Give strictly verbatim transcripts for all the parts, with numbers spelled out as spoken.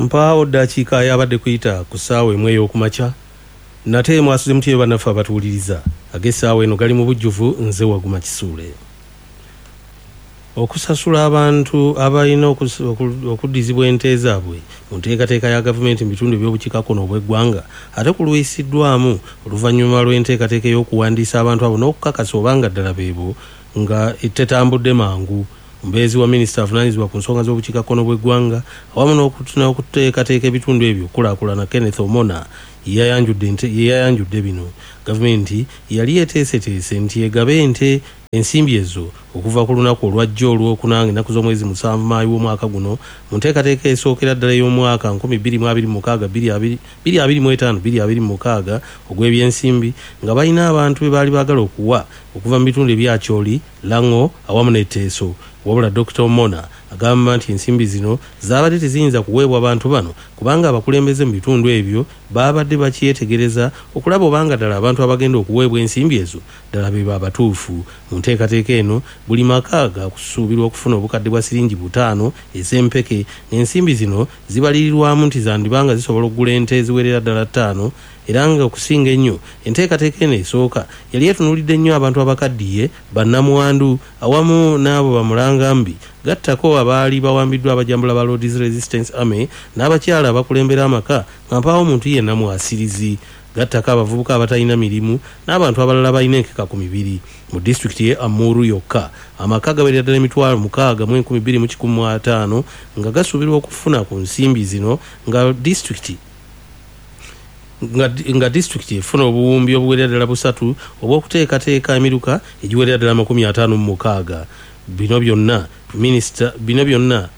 Mpaawo ddakiika yabadde kuyita ku ssaawa emu ey'okumakya. Nate mwasuze mutye bannaffe abatuwuliriza? Ag'essaawa eno gali mu bujjuvu, nze Waguma Kisuule. Okusasula abantu abalina okuddizibwa ente zaabwe mu nteekateeka ya gavumenti mu bitundu eby'obukiikakkono obw'eggwanga ate kulwisiddwamu oluvannyuma lw'enteekateeka ey'okuwandiisa abantu abo n'okukakasa obanga ddala beebo nga tetambudde mangu. Omubeezi wa minisita avunaanyizibwa ku nsonga z'obukiikakkono bw'eggwanga awamu n'okuteekateeka ebitundu ebyo okukulaakulana, Kenneth Omona, yeyayanjudde bino. Gavumenti yali yeteeseteese nti egabe ente ensimbi ezo okuva ku lunaku olwajjo olwokuna ennaku z'omwezi musanvu Maayi w'omwaka guno mu nteekateeka esookera ddala ey'omwaka nkumi bbiri mu abiri mu mukaaga bbiri abiri mu etaano bbiri abiri mu mukaaga ogw'ebyensimbi, nga balina abantu be baali baagala okuwa okuva mu bitundu ebya Acholi, Lango awamu ne Teso. Wabula Dokita Omona agamba nti ensimbi zino zaabadde teziyinza kuweebwa abantu bano kubanga abakulembeze mu bitundu ebyo baabadde bakyetegereza okulaba obanga ddala abantu abagenda okuweebwa ensimbi ezo ddala be abatuufu. Mu nteekateeka eno buli maka gakusuubirwa okufuna obukadde bwa siringi butaano ez'empeke, ng'ensimbi zino zibalirirwamu nti zandibanga zisobola okugula ente eziwerera ddala ttaano. Era nga okusinga ennyo enteekateeka eno esooka yali etunuulidde nnyo abantu abakaddiye, bannamwandu awamu n'abo bamulangambi, gattako abaali bawambiddwa abajambula ba Lord's Resistance Army n'abakyala abakulembera amaka nga mpaawo omuntu yenna mwasirizi, gattako abavubuka abatalina mirimu n'abantu abalala balina enkeka ku mibiri. Mu disitulikiti ye Amuru yokka amaka gawerera ddala emitwalo mukaaga mu enkumi bbiri mu kikumi mu ataano nga gasuubirwa okufuna ku nsimbi zino, nga disitulikiti nga, nga disitulikiti efuna obuwumbi obuwerera ddala busatu obw'okuteekateeka emiruka egiwerera ddala amakumi ataano mu mukaaga. Bino byonna minisita bino byonna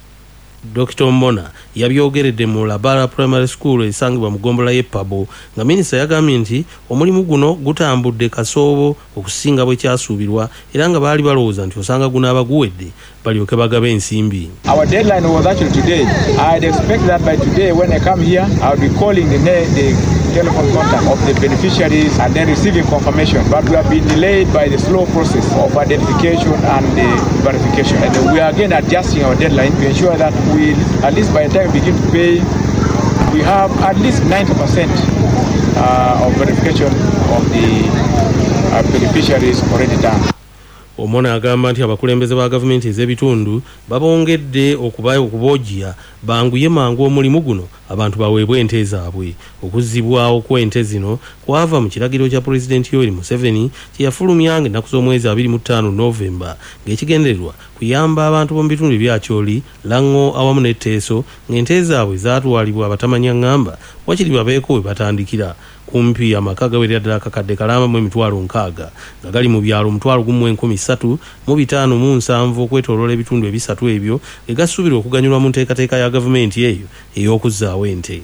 Dokita Omona yabyogeredde mu Labara Primary School esangibwa mu ggombolola y'e Pabo, nga minisita yagambye nti omulimu guno gutambudde kasoobo okusinga bwe kyasuubirwa, era nga baali balowooza nti osanga gunaaba guwedde balyoke bagabe ensimbi. Our deadline was actually today. I'd expect that by today when I come here, I'll be calling the, the telephone contact of the beneficiaries and then receiving confirmation. But we have been delayed by the slow process of identification and the verification. And we are again adjusting our deadline to ensure that we, at least by the time we begin to pay, we have at least ninety percent uh, of verification of the uh, beneficiaries already done. Omona agamba nti abakulembeze ba gavumenti ez'ebitundu babongedde okuboojja banguye mangu omulimu guno abantu baweebwe ente zaabwe. Okuzzibwawo kw'ente zino kwava mu kiragiro kya Pulezidenti Yoweri Museveni kye yafulumya ng'ennaku z'omwezi abiri mu ttaano Novemba, ng'ekigendererwa kuyamba abantu b'omu bitundu ebya Acholi, Lango awamu ne Teso ng'ente zaabwe zaatwalibwa abatamanya ngamba wakiri babeeko we batandikira. Kumpi amaka gawerera ddala akakadde kalamba mu emitwalo nkaaga nga gali mu byalo omutwalo gumu mu enkumi ssatu mu bitaano mu nsanvu okwetooloola ebitundu ebisatu ebyo ge gasuubirwa okuganyulwa mu nteekateeka ya gavumenti eyo ey'okuzzaawo ente.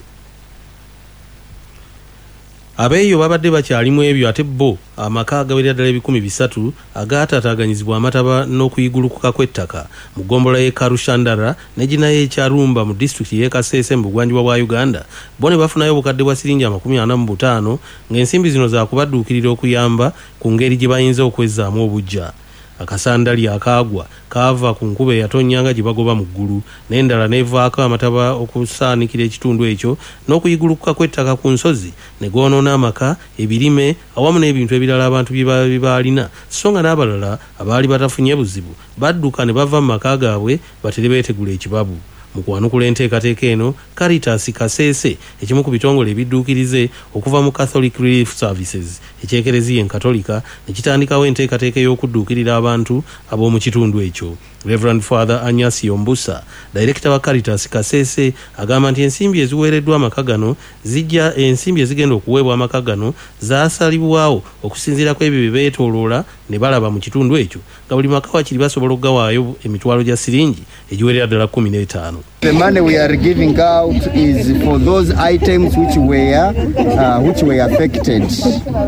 Abeeyo babadde bakyalimu ebyo, ate bo amaka agawerera ddala ebikumi bisatu agaataataaganyizibwa amataba n'okuyigulukuka kw'ettaka mu ggombolola y'e Karushandara ne ginayo ekyarumba mu disitulikiti y'e Kasese mu bugwanjuba bwa Uganda, bo ne bafunayo obukadde bwa siringi amakumi ana mu butaano, ng'ensimbi zino zaakubadduukirira okuyamba ku ngeri gye bayinza okwezzaamu obuggya. Akasandali akaagwa kaava ku nkuba eyatonnyanga gye bagoba mu ggulu, n'endala n'evaako amataba okusaanikira ekitundu ekyo n'okuyigulukuka kw'ettaka ku nsozi ne goonoona amaka, ebirime awamu n'ebintu ebirala abantu bye baalina, so nga n'abalala abaali batafunye buzibu badduka ne bava mu maka gaabwe batere beetegula ekibabu. Mu kwanukula enteekateeka eno, Caritas Kasese, ekimu ku bitongole ebidduukirize okuva mu Catholic Relief Services eky'Ekereziya Enkatolika, ne kitandikawo enteekateeka ey'okudduukirira abantu ab'omu kitundu ekyo. Reverend Father Anyasio Mbusa, Director wa Caritas Kasese, agamba nti ensimbi eziweereddwa amaka gano zijja ensimbi ezigenda okuweebwa amaka gano zaasalibwawo okusinziira ku ebyo bye beetooloola ne balaba mu kitundu ekyo, nga buli maka wakiri basobola okugawaayo emitwalo gya siringi egiwerera ddala kkumi n'etaano. The money we are giving out is for those items which were uh, which were affected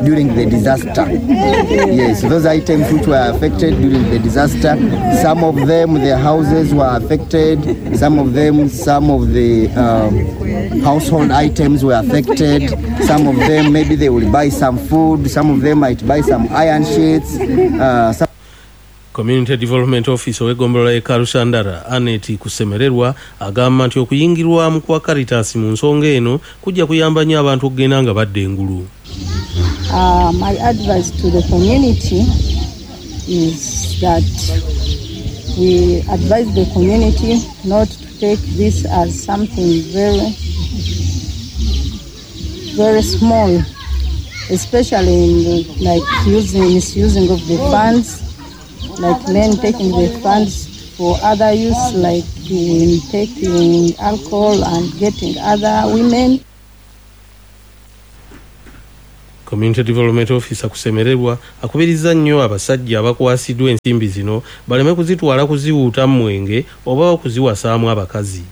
during the disaster. Yes, those items which were affected during the disaster. Some of them, their houses were affected. Some of them, some of the um, household items were affected. Some of them, maybe they will buy some food. Some of them might buy some iron sheets. Uh, some Community Development Officer ow'eggombolola y'e Karusandara, Anet Kusemererwa, agamba nti okuyingirwamu kwa Caritas mu nsonga eno kujja kuyamba nnyo abantu okugenda nga badda engulu. Uh, my advice to the community is that we advise the community not to take this as something very, very small, especially in the, like using, misusing of the funds, like men taking the funds for other use, like in taking alcohol and getting other women. Community Development Officer Kusemererwa akubiriza nnyo abasajja abakwasiddwa ensimbi zino baleme kuzitwala kuziwuuta mwenge oba okuziwasaamu abakazi.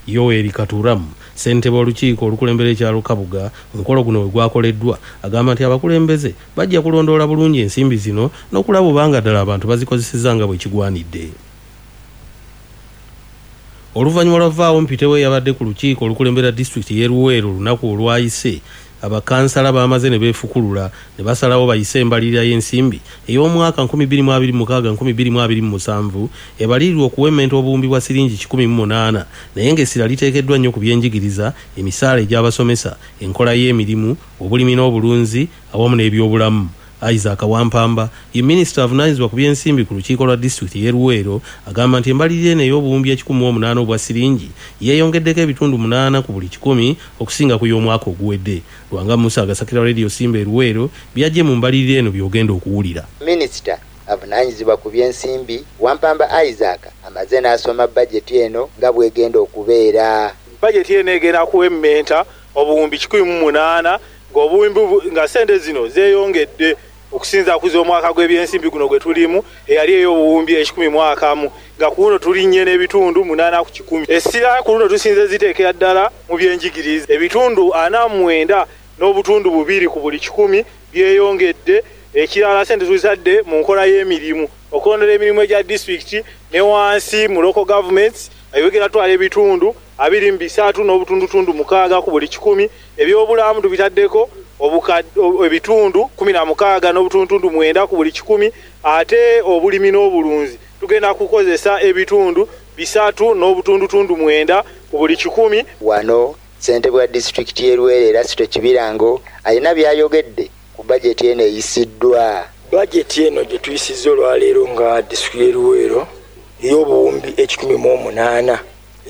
Yoweri Katuramu, ssentebe w'olukiiko olukulembera ekyalo Kabuga, omukolo guno we gwakoleddwa, agamba nti abakulembeze bajja kulondoola bulungi ensimbi zino n'okulaba obanga ddala abantu bazikozesezza nga bwe kigwanidde. Oluvannyuma lwa vaawo mpitewo eyabadde ku lukiiko olukulembera disitulikiti y'e Luweero olunaku olwayise, abakansala bamaze ne beefukulula ne basalawo bayise embalirira y'ensimbi ey'omwaka nkumi bbiri mu abiri mu mukaaga nkumi bbiri mu abiri mu musanvu ebalirirwa okuwemmenta obuwumbi bwa siringi kikumi mu munaana, naye ng'essira liteekeddwa nnyo ku byenjigiriza, emisaala egy'abasomesa, enkola y'emirimu, obulimi n'obulunzi awamu n'ebyobulamu. Isaac Wampamba ye minisita avunaanyizibwa ku byensimbi ku lukiiko lwa disitulikiti y'e Luweero agamba nti embalirira eno ey'obuwumbi ekikumi mu omunaana obwa siringi yeeyongeddeko ebitundu munaana ku buli kikumi okusinga ku y'omwaka oguwedde. Lwanga Musa agasakira Radio Simba e Luweero byajje mu mbalirira eno by'ogenda okuwulira. Minisita avunaanyizibwa ku byensimbi Wampamba Isaac amaze n'asoma bajeti eno nga bw'egenda okubeera. Bajeti eno egenda kuwemmenta obuwumbi kikumi mu munaana ng'obuwumbi nga ssente zino zeeyongedde okusinza ku z'omwaka gw'ebyensimbi guno gwe tulimu eyali ey'obuwumbi ekikumi mu akamu, nga ku luno tulinnye n'ebitundu munaana ku kikumi. Essira ku luno tusinze ziteekera ddala mu byenjigiriza, ebitundu ana mu mwenda n'obutundu bubiri ku buli kikumi byeyongedde. Ekirala ssente tuzitadde mu nkola y'emirimu, okulondola emirimu egya disitulikiti ne wansi mu local governments ebigenda twala ebitundu abiri mu bisatu n'obutundutundu mukaaga ku buli kikumi. Ebyobulamu tubitaddeko ebitundu kumi na mukaaga n'obutundutundu mwenda ku buli kikumi, ate obulimi n'obulunzi tugenda kukozesa ebitundu bisatu n'obutundutundu mwenda ku buli kikumi. Wano ssentebe wa disitulikiti y'e Luweero Erasito Kibirango alina by'ayogedde ku bajeti eno eyisiddwa. Bajeti eno gye tuyisizza olwaleero nga disitulikiti y'e Luweero ey'obuwumbi ekikumi mu omunaana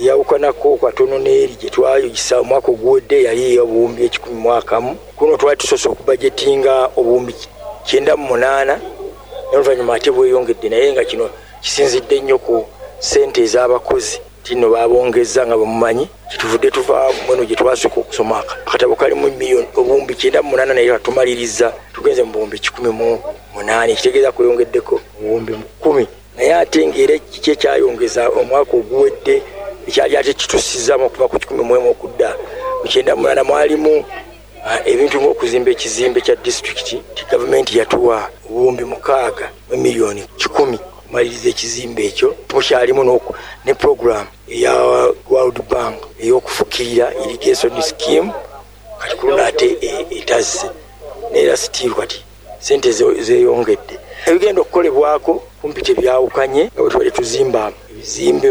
eyawukanako katono n'eri gye twayisa omwaka oguwedde yali ey'obuwumbi ekikumi mu akamu. Kuno twali tusoose okubajetinga obuwumbi kyenda mu munaana n'oluvannyuma ate bweyongedde, naye nga kino kisinzidde nnyo ku ssente ez'abakozi tino babongezza nga bwemumanyi. Kituvudde tuva mweno gye twasooka okusoma akatabo kalimu miliyoni obuwumbi kyenda mu munaana naye katumaliriza tugenze mu buwumbi kikumi mu munaana, ekitegeeza kweyongeddeko obuwumbi kkumi. Naye ate ng'era kiki ekyayongeza omwaka oguwedde ekyali ate kitusizaamu okuva ku kikumi mu emu okudda ku kyenda mu munaana, mwalimu ebintu ng'okuzimba ekizimbe kya disitulikiti. Gavumenti yatuwa obuwumbi mukaaga mu miliyoni kikumi okumaliriza ekizimbe ekyo. Mukyalimu ne puroguramu eya World Bank ey'okufukirira irrigation scheme, kati ku luno ate etazze neera sitiiru kati ssente zeeyongedde. Ebigenda okukolebwako kumpi tebyawukanye nga bwe tubadde tuzimba ebizimbe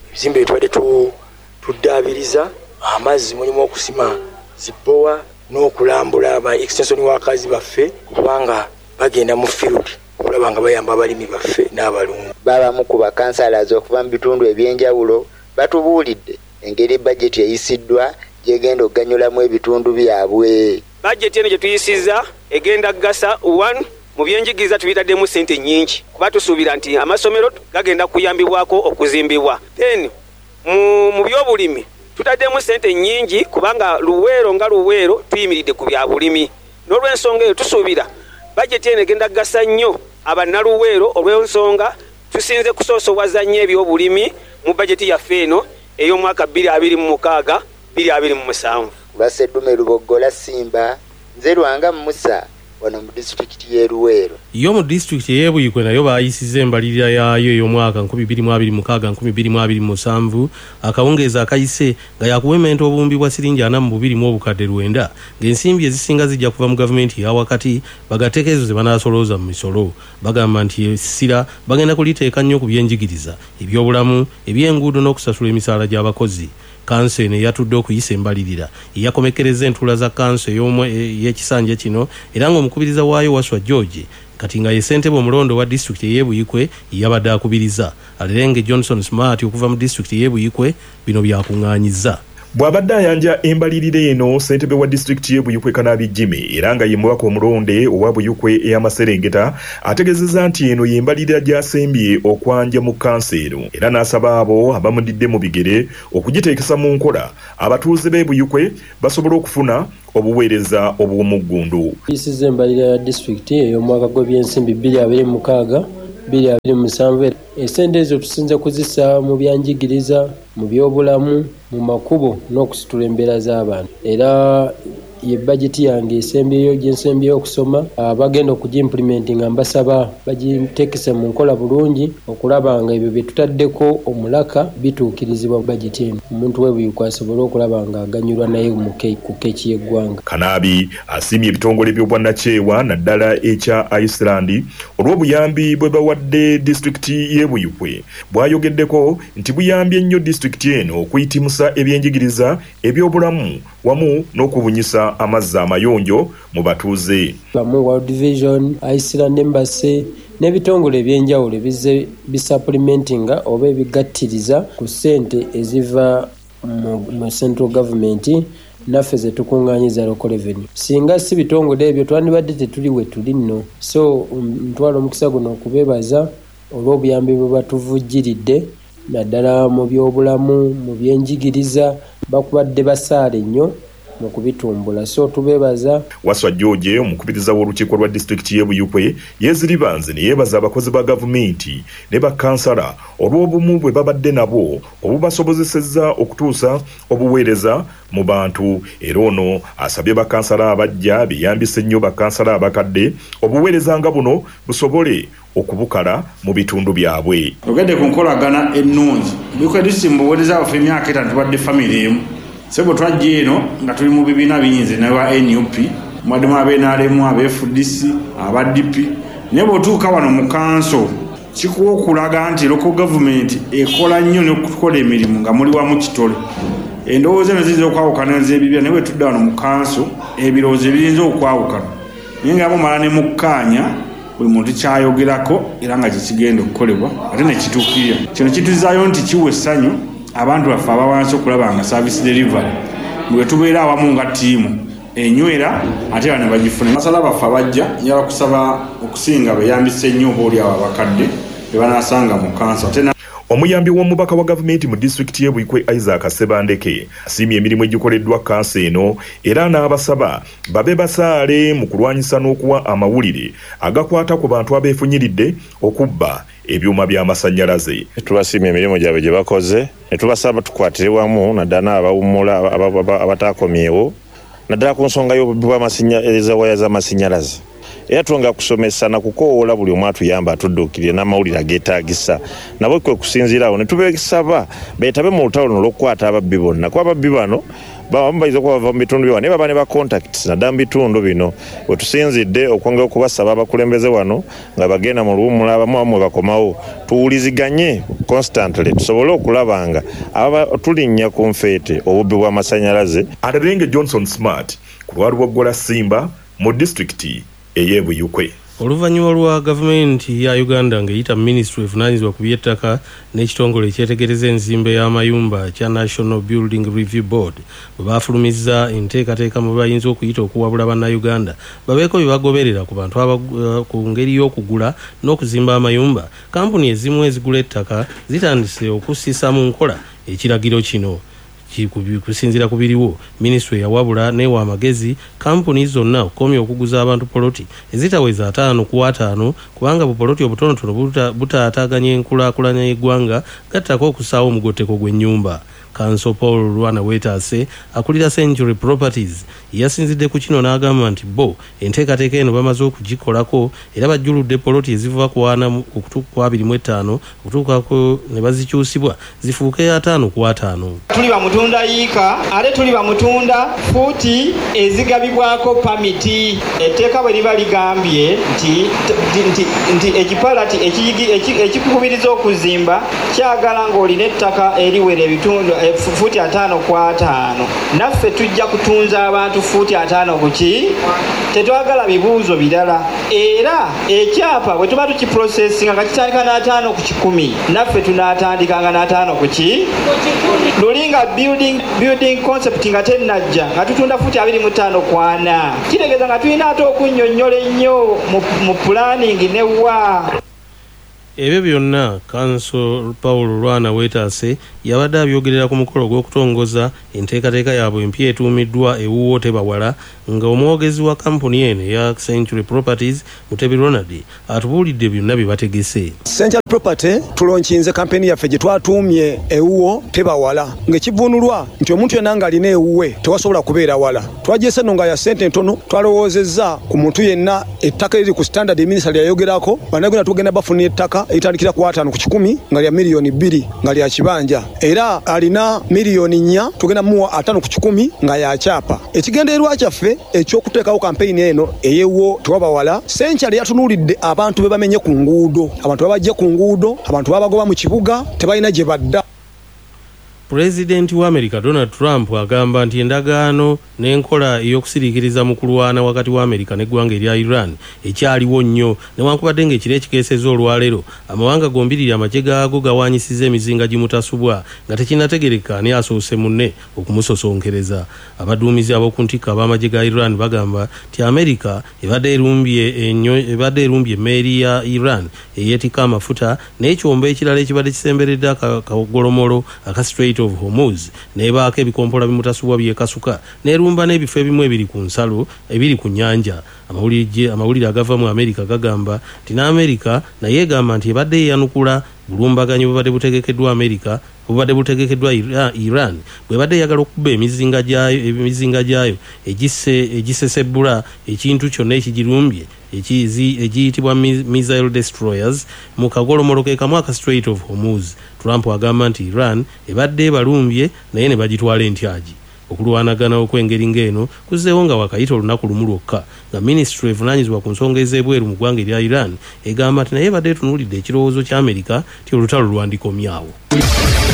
ebizimbe bye tubadde tuddaabiriza, amazzi mulimu okusima zibbowa n'okulambula aba extension workers baffe kubanga bagenda mu field okulaba nga bayamba abalimi baffe n'abalunzi. Babamu ku bakansalazi okuva mu bitundu ebyenjawulo batubuulidde engeri bajeti eyisiddwa gy'egenda okuganyulamu ebitundu byabwe. Bajeti eno gye tuyisizza egenda kugasa one mu byenjigiriza tubitaddemu ssente nnyingi kuba tusuubira nti amasomero gagenda kuyambibwako okuzimbibwa. Then mu, mu byobulimi tutaddemu ssente nnyingi kubanga Luweero nga Luweero tuyimiridde ku bya bulimi. N'olw'ensonga eyo tusuubira bajeti eno egenda kugasa nnyo abannaluweero olw'ensonga tusinze kusoosowaza nnyo ebyobulimi mu bajeti yaffe eno ey'omwaka bbiri abiri mu mukaaga bbiri abiri mu musanvu. Lwa Sseddume Luboggola Simba, nze Lwanga Musa wano mu disitulikiti y'e Luweero. Yo mu disitulikiti ey'e Buikwe nayo baayisizza embalirira yaayo ey'omwaka nkumi bbiri mu abiri mu mukaaga nkumi bbiri mu abiri mu musanvu akawungeezi akayise nga yakuwementa obuwumbi bwa siringi ana mu bubiri mu obukadde lwenda ng'ensimbi ezisinga zijja kuva mu gavumenti eya wakati bagateeka ezo ze banaasolooza mu misolo. Bagamba nti essira bagenda kuliteeka nnyo ku byenjigiriza, ebyobulamu, ebyenguudo n'okusasula emisaala gy'abakozi. Kanso eno eyatudde okuyisa embalirira yakomekereza entuula za kanso ey'ekisanja kino era ng'omukubiriza waayo Waswa George kati nga ye ssentebe omulondo wa disitulikiti ey'e Buikwe yabadde akubiriza. Alerenge Johnson Smart okuva mu disitulikiti ey'e Buikwe bino byakuŋŋaanyizza. Bw'abadde ayanja embalirira eno, ssentebe wa disitulikiti y'e Buikwe Kanaabi Jimmy era nga ye mubaka omulonde owa Buikwe ey'amaserengeta ategeezezza nti eno y'embalirira gy'asembye okwanja mu kkanso eno era n'asaba abo abamudidde mu bigere okugiteekesa mu nkola abatuuze b'e Buikwe basobole okufuna obuweereza obw'omuggundu. Tuyisizza embalirira ya disitulikiti ey'omwaka gw'ebyensimbi bbiri abiri mu mukaaga bbiri abiri mu musanvu. Essente ezo tusinze kuzissa mu byanjigiriza, mu byobulamu, mu makubo n'okusitula embeera z'abantu. Era ye bajeti yange esembyeyo gye nsembyeyo okusoma, abagenda okugiimplimentinga mbasaba bagiteekese mu nkola bulungi okulaba nga ebyo bye tutaddeko omulaka bituukirizibwa bajeti eno. Omuntu w'e Buikwe asobole okulaba nga aganyulwa naye ku keeki y'eggwanga. Kanaabi asiimye ebitongole by'obwannakyewa naddala ekya Iceland olw'obuyambi bwe bawadde disitulikiti y'e Buikwe. Bw'ayogeddeko nti buyambye nnyo disitulikiti eno okuyitimusa ebyenjigiriza, ebyobulamu wamu n'okubunyisa amazzi amayonjo mu batuuze. Bamu World Vision, Iceland Embassy n'ebitongole ebyenjawulo bizze bisupplementinga oba ebigattiriza ku ssente eziva mu central government naffe ze tukuŋŋaanyiza local revenue. Singa si bitongole ebyo twandibadde tetuli we tuli nno. So ntwala omukisa guno okubeebaza olw'obuyambi bwe batuvujjiridde naddala mu byobulamu, mu byenjigiriza, bakubadde basaale nnyo mu kubitumbula. So tubeebaza. Waswa George omukubiriza w'olukiiko lwa disitulikiti y'e Buikwe yeeziribanze ne yeebaza abakozi ba gavumenti ne bakkansala olw'obumu bwe babadde nabo obubasobozesezza okutuusa obuweereza mu bantu. Era ono asabye bakkansala abajja beeyambise nnyo bakkansala abakadde obuweereza nga buno busobole okubukala mu bitundu byabwe. Ogedde ku nkolagana ennungi. Buikwe disitulikiti mu buweereza bwaffe emyaka etaano tubadde famire emu. Sebo twajja eno nga tuli mu bibiina bingi n'aba N U P, mwaddemu aba N R M, aba F D C, aba D P. Naye bw'otuuka wano mu kanso kikuwa okulaga nti local government ekola nnyo n'okukola emirimu nga muli wamu kitole. Endowooza eno ziyinza okwawukana ez'ebibiina, naye bwe tudda wano mu kanso ebirowoozo ebiyinza okwawukana naye nga mumala ne mukkaanya buli muntu kyayogerako era nga kye kigenda okukolebwa ate ne kituukirira. Kino kituzaayo nti kiwa essanyu abantu baffe abawansi okulaba nga service delivery bwe tubeera awamu nga ttiimu enywera ate bano bagifuna. Basala baffe abajja njagala kusaba okusinga beeyambise nnyo oba oli awo abakadde be banaasanga mu kanso. Ate Omuyambi w'omubaka wa gavumenti mu disitulikiti y'e Buikwe Isaac Ssebandeke asiimye emirimu egikoleddwa kanso eno era n'abasaba babe basaale mu kulwanyisa n'okuwa amawulire agakwata ku bantu abeefunyiridde okubba ebyuma by'amasannyalaze. Tubasiimye emirimu gyabwe gye bakoze ne tubasaba tukwatire wamu naddala abawummula abatakomyewo naddala ku nsonga y'obubbi bw'amasannyalaze, waya z'amasannyalaze. Era twongera kusomesa na kukoowoola buli omu atuyamba atudduukirire n'amawulire ageetaagisa nabo kwe kusinziira awo ne tubasaba beetabe mu lutalo luno olw'okukwata ababbi bonna kuba ababbi bano babamu bayinza okuba bava mu bitundu bya naye baba ne ba contacts naddala mu bitundu bino. We tusinzidde okwongera okubasaba abakulembeze wano nga bagenda mu luwummula abamu abamu bakomawo tuwuliziganye constantly tusobole okulaba nga aba tulinnya ku nfeete obubbi bw'amasannyalaze. Alerenge Johnson Smart ku lwa Lubogola Simba mu disitulikiti ey'e Buikwe. Oluvannyuma lwa gavumenti ya Uganda ng'eyita minisitule evunaanyizibwa ku by'ettaka n'ekitongole ekyetegereza enzimba y'amayumba kya National Building Review Board bwe baafulumizza enteekateeka mwe bayinza okuyita okuwabula Bannayuganda babeeko bye bagoberera ku bantu ku ngeri y'okugula n'okuzimba amayumba, kampuni ezimu ezigula ettaka zitandise okussisa mu nkola ekiragiro kino. Kusinziira ku biriwo, minisitule yawabula n'ewa amagezi kampuni zonna okukomya okuguza abantu poloti ezitaweza ataano ku ataano kubanga bupoloti obutonotono butaataaganya enkulaakulana y'eggwanga gattako okussaawo omugotteko gw'ennyumba. Kanso Paul Lwana Weetaase akulira Century Properties yasinzidde ku kino n'agamba nti bo enteekateeka eno bamaze okugikolako era bajjuludde poloti eziva ku ana okutuuka ku abiri mu etaano okutuukako ne bazikyusibwa zifuuke ataano ku ataano. Tuli bamutunda yiika ate tuli bamutunda fuuti ezigabibwako pamiti. Etteeka bwe liba ligambye nti nti nti ekipalati ekikukubiriza okuzimba kyagala ng'olina ettaka eriwera ebitundu fuuti ataano ku ataano, naffe tujja kutunza abantu fuuti ataano ku ki? Tetwagala bibuuzo birala. Era ekyapa bwe tuba tukiprosesinga nga kitandika n'ataano ku kikumi, naffe tunaatandikanga n'ataano ku ki? Luli nga building, building concept nga tennajja nga tutunda fuuti abiri mu ttaano ku ana, kitegeeza nga tulina ate okunnyonnyola ennyo mu, mu planning ne wa. Ebyo byonna Kanso Paul Lwana Weetaase yabadde abyogerera ku mukolo ogw'okutongoza enteekateeka yaabwe empya etuumiddwa Ewuwo Tebawala, nga omwogezi wa kampuni eno eya Century Properties Mutebi Ronald atubuulidde byonna bye bategese. Century Property tulonkinze kampeni yaffe gye twatuumye Ewuwo Tebawala, ng'ekivvuunulwa nti omuntu yenna ng'alina ewuwe tewasobola kubeera wala. Twagyese nno nga ya ssente ntono, twalowoozezza ku muntu yenna ettaka eriri ku standard minisita lyayogerako, bannayuganda tugenda bafuna ettaka eritandikira ku ataano ku kikumi nga lya miliyoni bbiri nga lya kibanja, era alina miliyoni nnya tugenda muwa ataano ku kikumi nga ya kyapa. Ekigendererwa kyaffe ekyokuteekawo kampeyini eno ey'Ewuwo Tewabawala, Century yatunuulidde abantu be bamenye ku nguudo, abantu babajje ku nguudo, abantu babagoba mu kibuga, tebalina gye badda. Pulezidenti wa Amerika Donald Trump agamba nti endagaano n'enkola ey'okusiriikiriza mu kulwana wakati wa Amerika n'eggwanga erya Iran ekyaliwo nnyo, newankubadde ng'ekiro ekikeesezza olwaleero amawanga gombiriri amagye gaago gawaanyisizza emizinga gimutasubwa nga tekinnategereka ani asoose munne okumusosonkereza. Abaduumizi ab'oku ntikko ab'amagye ga Iran bagamba nti Amerika ebadde erumbye ennyo ebadde erumbye emmeeri ya Iran eyeetikka amafuta n'ekyombo ekirala ekibadde kisemberedde akagolomolo aka Strait of Hormuz n'ebaako ebikompola bimutasubwa byekasuka n'erumba n'ebifo ebimu ebiri ku nsalo ebiri ku nnyanja. Amawulire amawulire agava mu Amerika gagamba nti n'Amerika naye egamba nti ebadde yeeyanukula bulumbaganyi bubadde butegekeddwa Amerika bubadde butegekeddwa Iran bwebadde eyagala okukuba emizinga gyayo emizinga gyayo egise egisesebbula ekintu kyonna ekigirumbye egiyitibwa missile destroyers mu kagolomolo ke kamu aka Strait of Hormuz. Trump agamba nti Iran ebadde ebalumbye naye ne bagitwala entyagi. Okulwanagana okw'engeri ng'eno kuzzeewo nga wakayita olunaku lumu lwokka nga minisitule evunaanyizibwa ku nsonga ez'ebweru mu ggwanga erya Iran egamba nti naye ebadde etunuulidde ekirowoozo kya Amerika nti olutalo lwandikomyawo.